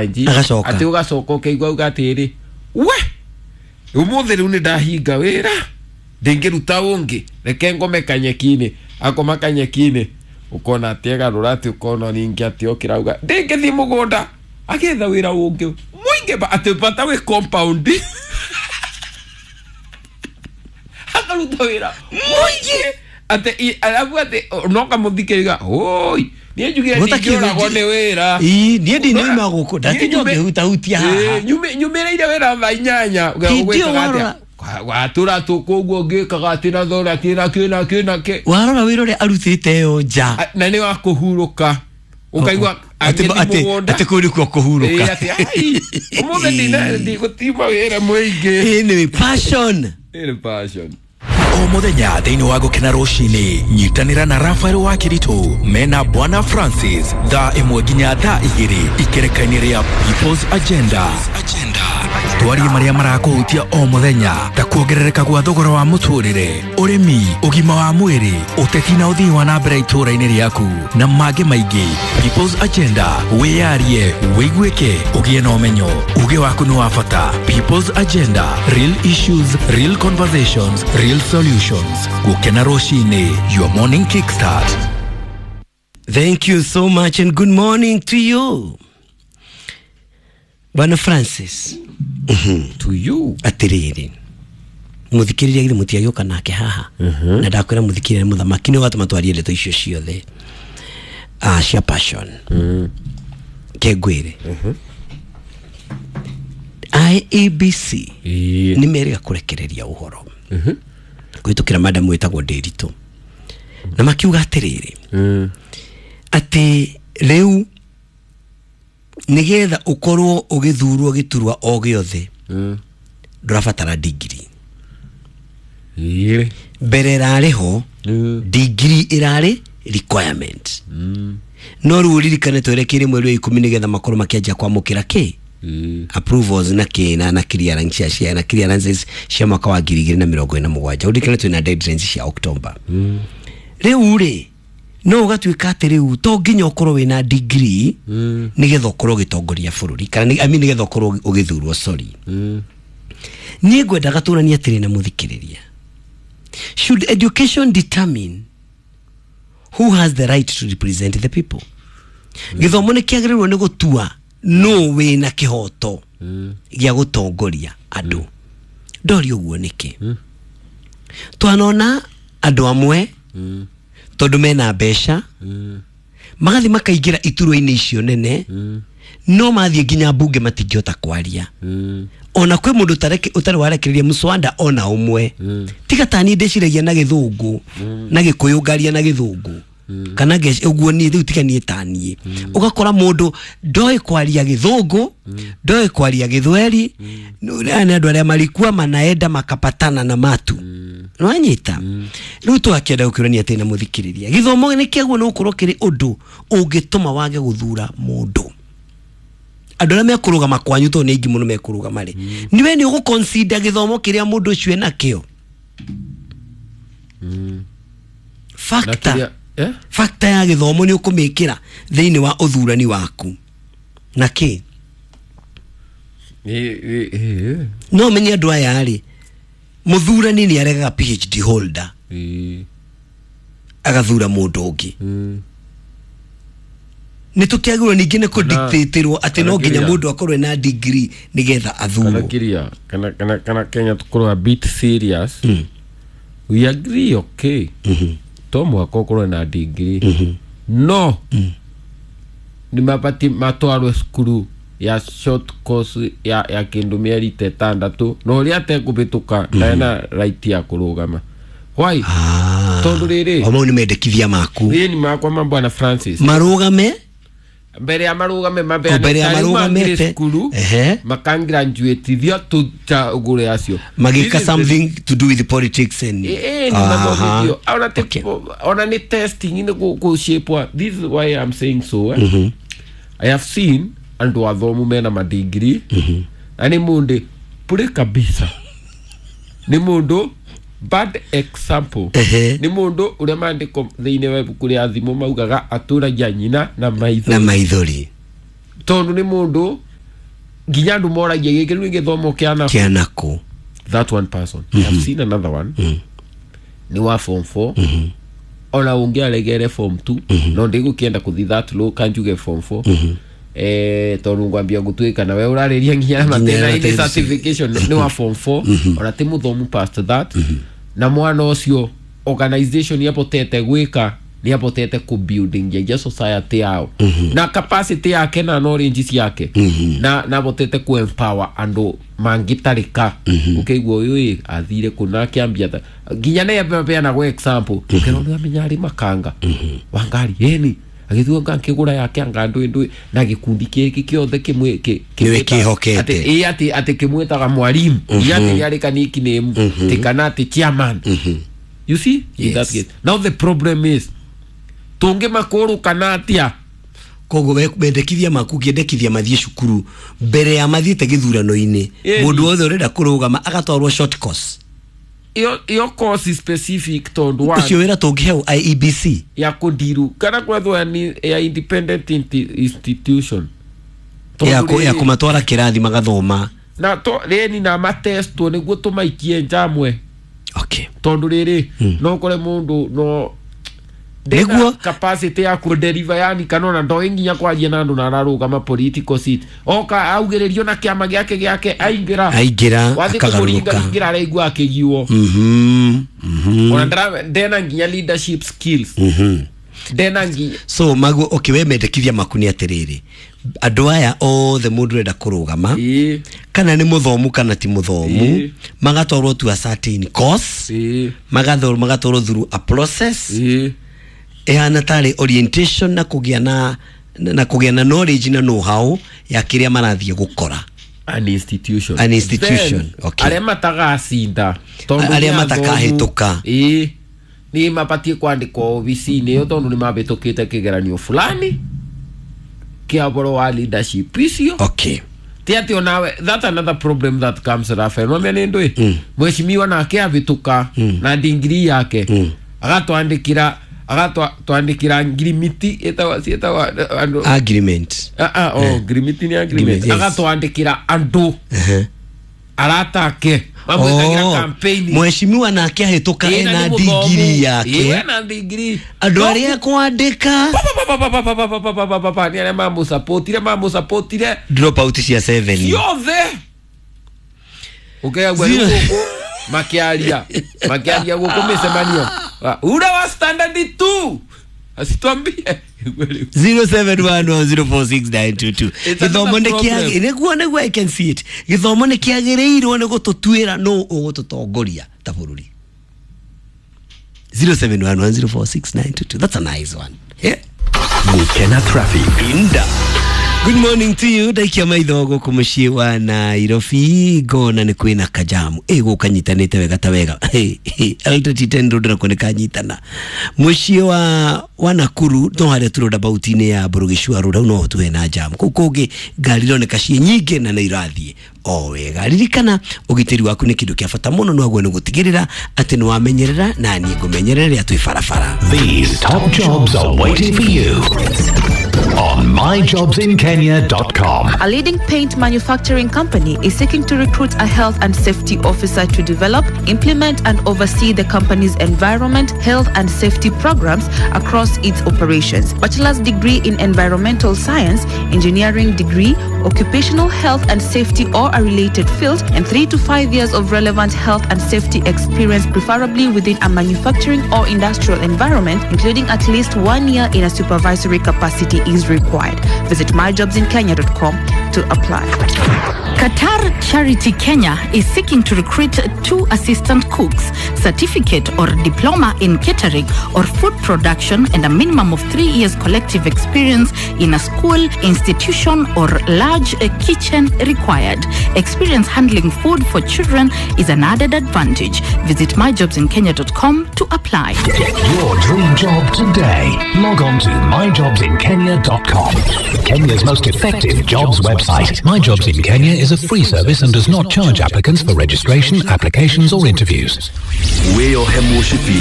Nji Agacoka. Atĩ ũgacoka ũkaigua uga atĩrĩ, we ũmũthĩ rĩu nĩ ndahinga wĩra, ndĩngĩruta ũngĩ, reke ngome kanyeki-inĩ. Akoma kanyeki-inĩ, ũkona atĩ egarũra, atĩ ũkona ningĩ atĩ okĩra auga ndĩngĩthiĩ mũgũnda, agĩetha wĩra ũngĩ mũingĩ atĩ bata wĩ compound, akaruta wĩra mũingĩ atĩ arabu atĩ no kamũthikĩrĩria, oi niĩ njugire ndingĩũragwo nĩ wĩra. Ii, niĩ ndinauma gũkũ, ndatinda ngĩhutahutia haha. Nyumĩrĩire wĩra thaa 8. Hĩndĩ ĩyo Ũgwĩkaga atĩa? warora- Watũra tũkũguo ngĩkaga atĩ na thora kĩ na kĩ na kĩ na kĩ. Warora wĩra ũrĩa arutĩte ĩyo nja. Na nĩ wa kũhurũka, ũkaigua Atĩ- agĩthiĩ atĩ mũgũnda. atĩ kũu nĩkuo Ĩĩ, kũhurũka. atĩ ai ũmũthĩ ndigũtima wĩra mũingĩ. Ĩĩ, nĩ passion. Ĩĩ, passion. O mũthenya thĩinĩ wa gũkena rũcinĩ, nyitanĩra na Rafael wa Kĩritũ mena Bwana Francis thaa 1 nginya thaa 2 ikereka-inĩ rĩa People's Agenda. Twarie marĩa marakũhutia o mũthenya ta kuongerereka gwa thogora wa mũtũrĩre, ũrĩmi, ũgima wa mwĩrĩ, ũteti na ũthii wa na mbere itũũra-inĩ rĩaku na mangĩ maingĩ. People's Agenda, wĩyarie, wĩiguĩke, ũgĩe na ũmenyo. Uge waku nĩ wa bata. People's Agenda, real issues, real conversations, real solutions. Gũkena rũcinĩ, your morning kickstart. Thank you so much and good morning to you, Bwana Francis. To you. Atiriri, muthikiriria, githĩ mũtiagĩũka nake haha na ndakwĩra mũthikĩrĩria nĩ mũthamaki, nĩ ũgatũma twarie ndeto icio ciothe, cia passion. Ke ngwĩre, IEBC nĩ merĩga kũrekereria ũhoro kũhĩtũkĩra madam wĩtagwo Ndĩritũ, na makiuga atĩrĩrĩ, atĩ rĩu nĩgetha ũkorwo ũgĩthurwo gĩturwa o gĩothe, ndũrabatara ndigiri. Mbere ĩrarĩ ho ndigiri ĩrarĩ requirement, no rĩu ũririkane twerekeire mweri wa 10 nĩgetha makorwo makĩanjia kwamũkĩra kĩ approvals na kĩ na clearance cia na clearances cia mwaka wa 2027. Ũririkane twĩna deadlines cia October. Rĩu rĩ, no ũgatuĩka atĩ rĩu to nginya ũkorwo wĩna degree nĩgetha ũkorwo ũgĩtongoria bũrũri, kana I mean, nĩgetha ũkorwo ũgĩthurwo, sorry. Niĩ ngwendaga tũranie atĩrĩ na mũthikĩrĩria, should education determine who has the right to represent the people? Gĩthomo nĩ kĩagĩrĩirwo nĩ gũtua no wĩna kĩhoto gĩa gũtongoria andũ? Ndoria ũguo nĩkĩ? Twanona andũ amwe, tondũ mena mbeca, magathiĩ makaingĩra iturwa-inĩ icio nene, no mathiĩ nginya mbunge matingĩhota kwaria. Ona kwĩ mũndũ ũtarĩ warekereria mũswanda ona ũmwe, tiga ta niĩ ndĩciragia na gĩthũngũ na gĩkũyũ, ngaria na gĩthũngũ kana ũguo niĩ rĩu, tiga niĩ ta niĩ. Ũgakora mũndũ ndoĩ kwaria gĩthũngũ, ndoĩ kwaria gĩthweri. Aya nĩ andũ arĩa marikua manaenda makapatana na matu nĩwanyita. Rĩu twakĩenda gũkĩũrania atĩ na mũthikĩrĩria, gĩthomo nĩ kĩaguo nĩ gũkorwo kĩrĩ ũndũ ũngĩtũma wage gũthura mũndũ? Andũ arĩa mekũrũgama kwanyu, tondũ nĩ aingĩ mũno mekũrũgama rĩ, nĩwe nĩ ũgũ-consider gĩthomo kĩrĩa mũndũ ũcio enakĩo? Factor Eh? Factor ya gĩthomo nĩ ũkũmĩkĩra thĩinĩ wa ũthurani waku na kĩ? Ĩ, ĩ, ĩ, No menye andũ aya rĩ, mũthurani nĩ aregaga PhD holder, agathura mũndũ ũngĩ. Nĩ tũkĩagĩrwo ningĩ nĩ kũdictatĩrwo atĩ no nginya kana mũndũ akorwo ena degree nĩgetha kana athurwo? Kiria kana Kenya tukorwo a bit serious. We agree, okay, to mũhaka ũkorwo na degree, no nĩ mabatiĩ matwarwo cukuru ya short course ya kĩndũ mĩeri ta 6, na ũrĩa atekũhĩtũka ndarĩ na right ya kũrũgama. Why? Tondũ rĩrĩ, O mau nĩ mendekithia maku. Ĩĩ, nĩ makwa ma Bwana Francis. Marũgame. Mbere ya marũgame. O, mbere ya marũgamĩte. Cukuru makangraduatithio tũcagũre acio. Magĩka This is the- something to do with politics and Ĩĩ, nĩ mathomithio ona ona nĩ testing nĩ kũshapwa. This is why I'm saying so, eh? I have seen andũ athomu mena madigiri na nĩ mũndũ pure kabisa, nĩ mũndũ bad example. Nĩ mũndũ ũrĩa maandĩko thĩinĩ wa ibuku rĩa thimũ maugaga atũragia nyina na maitho. Na maithori. Tondũ nĩ mũndũ Nginya andũ moragia gĩkĩ rĩu nĩ gĩthomo kĩa na Kĩa nakũ. That one person. I have seen another one, nĩ wa form 4. Ona ũngĩ aregere form 2, no ndĩgũkĩenda kũthi that low, kanjuge form 4, tondũ ngwambia gũtuĩka nawe ũrarĩria nginya matĩna-inĩ. Matĩna. Certification nĩ wa form 4, ona ti mũthomu past that. Na mwana ũcio organization yabotete gwĩka nĩ abotete kũ building nginya society yao na capacity yake na knowledge ciake, na abotete kũ empower andũ mangĩtarĩka. Ũkĩigua ũyũ ĩ athire kũna akĩambia nginya nĩ apeanagwo example, ũkĩrwo nĩ amenya arĩ makanga wa ngari ĩni agĩthiĩ ngakĩgũra yake anga ndũĩ ndũĩ na gĩkundi kĩngĩ kĩothe kĩmwe Nĩwe kĩhokete. atĩ ĩ atĩ kĩmwĩtaga mwalimu, nginya atĩ rĩarĩ ka nickname ti kana atĩ chairman. You see? In Yes. that case now the problem is tũngĩmakũrũkana atĩa? Koguo mendekithia maku ũkĩendekithia mathiĩ cukuru mbere ya mathiĩte gĩthurano-inĩ. Ĩni. Mũndũ wothe ũrenda kũrũgama agatwarwo short course. Iyo course specific tondũ wa Ũcio wĩra tũngĩheo IEBC ya kũndiru kana kwethwo ni ya independent institution. ya Tondũ ya rĩrĩ- kũmatwara kĩrathi magathoma. Na to rĩni na matestwo nĩguo tũmaikie njamwe. Okay. Tondũ rĩrĩ no ũkore mũndũ no ndena Nĩguo- capacity ya kũdeliver, yani kana ona ndoĩ nginya kwaria na andũ na ararũgama political seat, oka augĩrĩrio na kĩama gĩake aingĩra. Aingĩra wathiĩ akagarũrũka. kũmũringaringĩra araigua akĩgiwo. Ona ndena nginya leadership skills, ndena nginya. So maguo, okay, we mendekithia maku nĩ atĩrĩrĩ, andũ aya othe mũndũ ũrenda kũrũgama, ĩĩ kana nĩ mũthomu kana ti mũthomu, Ĩĩ. magatwarwo to a certain course, ĩĩ magatwarwo through a process ĩĩ ĩhana tarĩ orientation na kũgĩa na na kũgĩa na knowledge na know how ya kĩrĩa marathiĩ gũkora. An institution. An institution, Then, okay. arĩa matagacinda tondũ Arĩa nĩ athomu, matakahĩtũka. Ĩĩ, nĩ mabatiĩ kwandĩkwo obici-inĩ ĩyo tondũ nĩ mabĩtũkĩte kĩgeranio fulani kĩa ũhoro wa leadership icio. Okay. Ti atĩ onawe, that another problem that comes, Rafael, nwamia nĩ ndũĩ mheshimiwa nake abĩtũka na ndingiri yake, agatwandĩkĩra agatwandĩkĩra ngirimiti ĩtagwo ciĩtagwo andũ. Agreement. Ah, ah, oh, ngirimiti nĩ agreement. Agreement, yes. Agatwandĩkĩra andũ aratake mamwĩkagĩra Oh, campaign. mheshimiwa nake ahĩtũka Ĩĩ, na ena nĩ mũthomu. ndigiri Ĩĩ, yake, ena ndigiri. andũ No, arĩa kwandĩka pa, pa, pa, pa, pa, pa, pa, pa, pa, pa, pa, pa, nĩ arĩa mamũsapotire mamũsapotire. Drop out cia 7. Ciothe ũkeagua rĩu Zero. gũkũ makĩaria makĩaria gũkũ mĩcemanio. Ah, ura wa standard 2 asitwambie. 0711046922. It's Gĩthomo another nĩ kĩa problem. nĩguo nĩguo, I can see it, gĩthomo nĩ kĩagĩrĩirwo nĩ gũtũtuĩra nũ ũgũtũtongoria ta bũrũri. 0711046922, that's a nice one, yeah. Gukena traffic. Inda. Good morning to you. Ndaikia maitho gũkũ mũciĩ wa Nairobi ngona nĩ kwĩna kajamu ĩ gũkũ kanyitanĩte wega ta wega. Eldoret 10 road nakuo nĩ kanyitana mũciĩ wa Nakuru, no harĩa tu roundabout-inĩ ya Burugicua road hau no tuhe na jamu. Kũu kũngĩ ngari ironeka ciĩ nyingĩ na nĩ irathiĩ o wega. Ririkana ũgitĩri waku nĩ kĩndũ kĩa bata mũno, no waguo nĩ gũtigĩrĩra atĩ nĩ wamenyerera na niĩ ngũmenyerera rĩrĩa twĩ barabara. These top jobs are waiting for you on myjobsinkenya.com. A leading paint manufacturing company is seeking to recruit a health and safety officer to develop, implement, and oversee the company's environment, health, and safety programs across its operations. Bachelor's degree in environmental science, engineering degree, occupational health and safety or a related field, and 3 to 5 years of relevant health and safety experience, preferably within a manufacturing or industrial environment, including at least 1 year in a supervisory capacity is required. Visit myjobsinkenya.com to apply. Qatar Charity Kenya is seeking to recruit 2 assistant cooks, certificate or diploma in catering or food production, and a minimum of 3 years collective experience in a school, institution, or large kitchen required. Experience handling food for children is an added advantage. Visit myjobsinkenya.com to apply. Get your dream job today. Log on to myjobsinkenya.com. Kenya's most effective jobs website. My Jobs in Kenya is a free service and does not charge applicants for registration, applications, or interviews. Wĩyohe mũcibi.